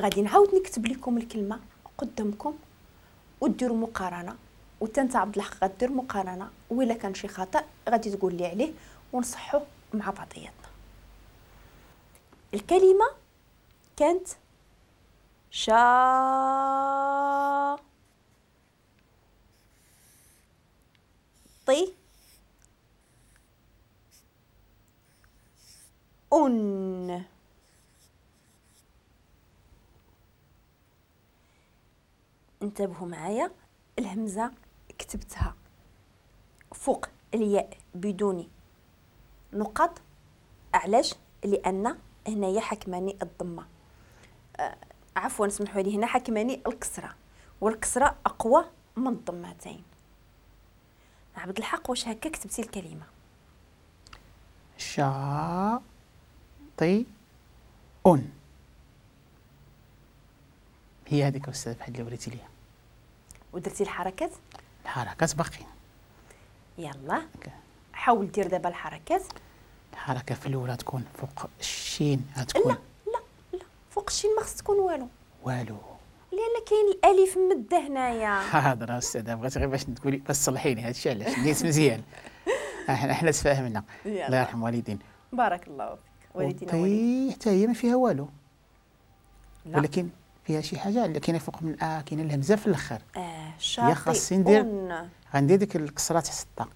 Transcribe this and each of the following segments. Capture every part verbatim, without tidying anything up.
غادي نعاود نكتب لكم الكلمة قدامكم وديروا مقارنة، وانت انت عبد الحق غدير مقارنة، وإلا كان شي خطا غادي تقول لي عليه ونصحوه مع بعضياتنا. الكلمة كانت شا طي أن. انتبهوا معايا، الهمزة كتبتها فوق الياء بدون نقط. علاش؟ لأن هنايا حكماني الضمة، آه عفوا سمحوا لي، هنا حكماني الكسرة، والكسرة أقوى من الضمتين. عبد الحق واش هكا كتبتي الكلمة؟ شاطئ أن هي هذيك أستاذ بحال اللي وريتي ليها. ودرتي الحركات؟ الحركات باقيين. يلا حاول دير دابا الحركات. الحركة في الأولى تكون فوق الشين، غتكون لا لا لا فوق الشين ما خص تكون والو والو، لأن كاين الألف مدة هنايا. حاضر أستاذة، بغيت غير باش تقولي باش تصلحيني هادشي علاش نيت مزيان. احنا حنا تفاهمنا. الله يرحم والدين. بارك الله فيك. والدينا والدين حتى هي ما فيها والو، لا. ولكن فيها شي حاجة اللي كاينه فوق من آه كاينه الهمزة في الاخر. اه شاطئ خاصني ندير غندير ديك الكسرة تحت الطا.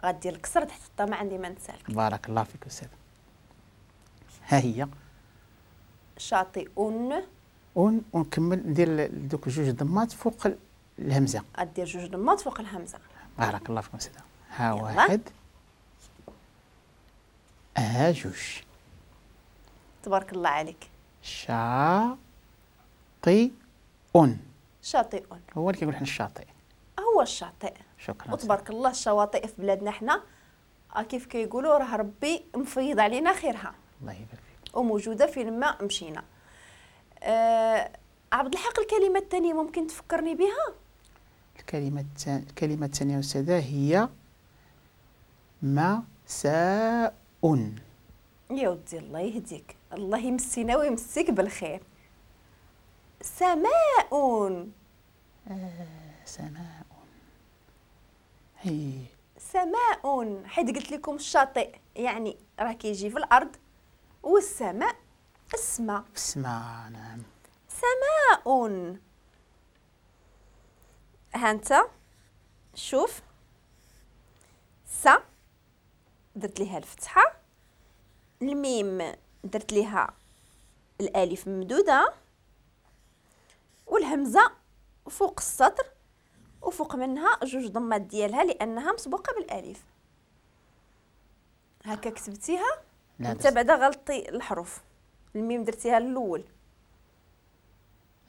غدير الكسرة تحت الطا، ما عندي ما نسالك. بارك الله فيك استاذ. ها هي شاطئ أن ونكمل ندير دوك جوج ضمات فوق الهمزة. غدير جوج ضمات فوق الهمزة. بارك الله فيك استاذ. ها واحد، ها جوج. تبارك الله عليك. شاطئ شاطئ هو اللي كيقول حنا الشاطئ، هو الشاطئ. شكرا. وتبارك الله الشواطئ في بلادنا حنا كيف كيقولوا راه ربي مفيض علينا خيرها. الله يبارك فيك. وموجودة فين ما مشينا. أه عبد الحق الكلمة الثانية ممكن تفكرني بها؟ الكلمة الثانية الكلمة الثانية استاذه هي مساء. يا ودي الله يهديك، الله يمسينا ويمسيك بالخير. سماء. آه سماء. هي سماء، حيت قلت لكم الشاطئ يعني راه كيجي في الارض، والسماء السماء. في السماء نعم. سماء. ها انت شوف، س درت ليها الفتحة، الميم درت ليها الالف ممدوده، والهمزة فوق السطر وفوق منها جوج ضمات ديالها لانها مسبوقة بالالف. هكا كتبتيها؟ انت بعدا غلطي الحروف، الميم درتيها الاول.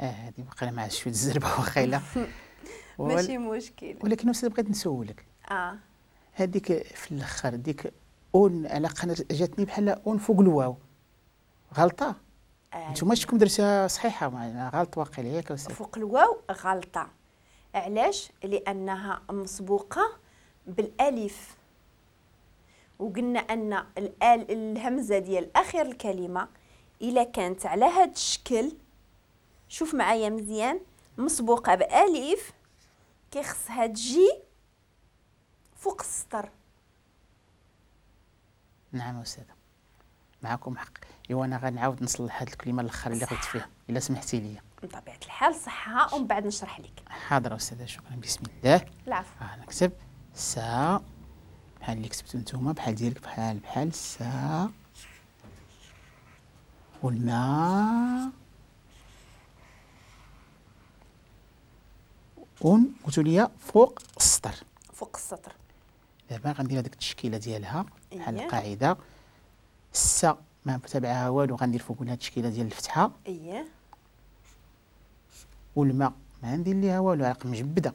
اه هذه باقي مع شوية الزربه واخا ماشي مشكل. ولكن استاذ بغيت نسولك. اه هذيك في الاخر ديك اون على قناة جاتني بحال اون فوق الواو، غلطه؟ آه. نتوما شكون درتها صحيحه؟ غلط واقيلا ياك أستاذ؟ فوق الواو غلطه. علاش؟ لانها مسبوقة بالالف، وقلنا ان الهمزة ديال اخر الكلمة الا كانت على هذا الشكل، شوف معايا مزيان، مسبوقة بالف كيخصها تجي فوق السطر. نعم أستاذة معكم حق. ايوا انا غنعاود نصلح هاد الكلمة الاخر اللي غلطت فيها الا سمحتي لي. بطبيعة الحال صحها ومن بعد نشرح لك. حاضر أستاذة شكرا. بسم الله. العفو. آه نكتب سا بحال اللي كتبتو نتوما، بحال ديالك، بحال بحال سا والماء اون قلتو لي فوق السطر. فوق السطر. دابا غندير هذيك التشكيلة ديالها بحال القاعدة. السا ما متبعها والو، غندير فوق منها التشكيلة ديال الفتحة. اييه. والماء ما ندير ليها والو، علاق مجبده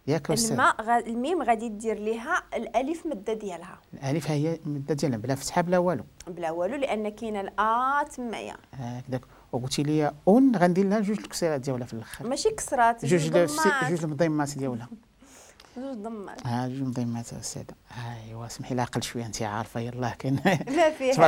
ياك أستاذ؟ الماء غ... الميم غادي دير ليها الالف مده ديالها. الالف هي المدة ديالها بلا فتحه بلا والو. بلا والو لان كاينه الا تمايا. هكذاك. وقلتي لي اون غندير لها جوج الكسرات ديالها في الاخر. ماشي كسرات، جوج جوج المضيمات ديالها. جوج ضمات. ها جوج مضيمات أستاذة. ايوا سمحي لي عقل شوية، انت عارفه يلاه كاين ما فيها.